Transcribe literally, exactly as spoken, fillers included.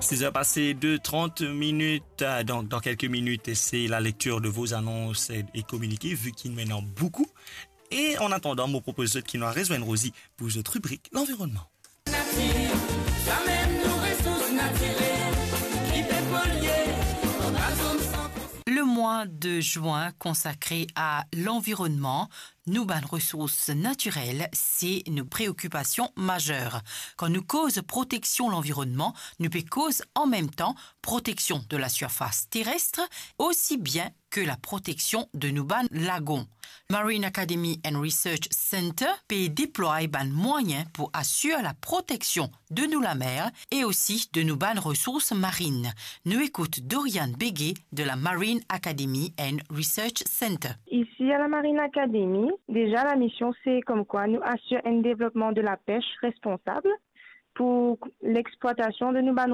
Six heures passées de trente minutes, euh, donc dans quelques minutes, c'est la lecture de vos annonces et, et communiqués, vu qu'il y en a beaucoup. Et en attendant, mo propoz zot ki nou al rezwenn Rosie pou zot ribrik lanvironnman. Natir, samem nou resours natirel, ki pe polye, anba zom san konsi- Le mois de juin consacré à l'environnement, nou bann resours natirel, se nou preokipasion mazer. Kan nou koz proteksion lanvironnman, nou pe koz an mem tan proteksion de la surface terrestre, aussi bien que la proteksion de nou bann lagon. Marine Academy and Research Center pe deplway bann mwayin pou asir la proteksion de nou lamer e osi de nou bann resours marine. Nou ekout Dorian Béguet de la Marine Academy and Research Center. Isi a la Marine Academy, deza lamision se komkwa nou asir enn devlopman de la pes responsab pou lexplwatasion de nou bann